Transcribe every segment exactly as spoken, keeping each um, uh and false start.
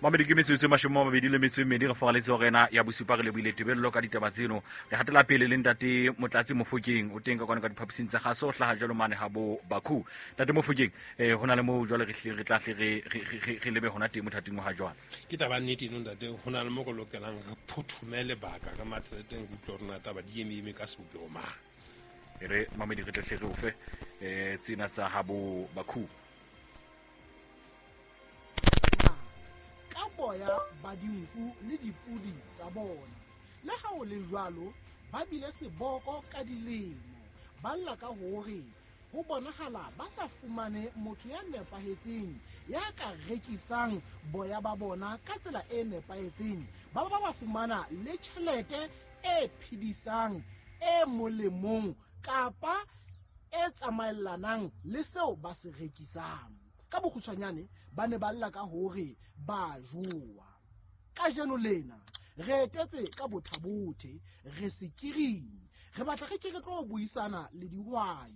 Mamedi ke metsotso e mashome a mabedi le metso e mmedi re foraletse hore ena ya bosupa re lebohile tebello ka ditaba tseno. Re hatela pele le ntate Motlatsi Mofokeng o teng ka kwana ka diphaposing tsa kgaso, o hlaha jwalo mane ha bo Bakhu. Ntate Mofokeng, eh ho na le moo jwale re hlile re tla hle re re re re lebe hona teng mothating wa ha jwale. Ke taba nnete eno ntate, ho na le mo re lokelang re phothume lebaka ka matleteng re utlwe hore na taba di eme eme ka sebopeho mang. E re mamedi re tle hle re o fe eh tsena tsa ha bo Bakhu. Ka boya ba dinku le dipudi tsa bona. Le ha ho le jwalo, ba bile seboko ka dilemo. Ba lla ka hore ho bonahala ba sa fumane motho ya nepahetseng ya ka rekisang boya ba bona ka tsela e nepahetseng. Ba ba ba fumana le tjhelete e phedisang, e molemong kapa e tsamaellanang le seo ba se rekisang. Ka bokgutshwanyane ba ne ba lla ka hore ba jowa. Kajeno lena re etetse ka bothabothe, re sekiring, re batla re ke re tlo buisana le dihwai.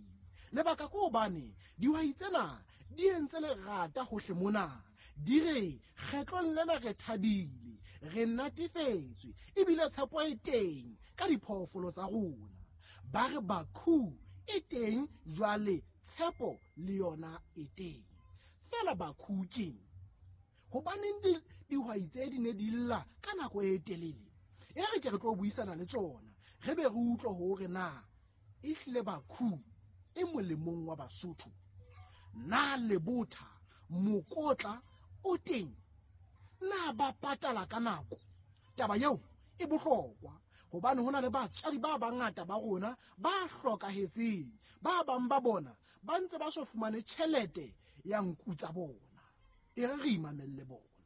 Lebaka ke hobane dihwai tsena di entse lerata hohle mona. Di re kgetlong lena re thabile, re natefetswe, ebile tshepo e teng ka diphoofolo tsa rona. Ba re Bakhu e teng jwale, tshepo le yona e teng. Fela Bakhu keng? Hobaneng di dihwai tse di ne di lla ka nako e telele? E re ke re tlo buisana le tsona, re be re utlwe hore na ehlile Bakhu e molemong wa Basotho. Na lebotha mokotla o teng? Na ba patala ka nako? Taba eo e bohlokwa hobane ho na le batswadi ba bangata ba rona ba hlokahetseng. Ba bang ba bona ba ntse ba so fumane tjhelete ya nku tsa bona. E re re imamelle bona.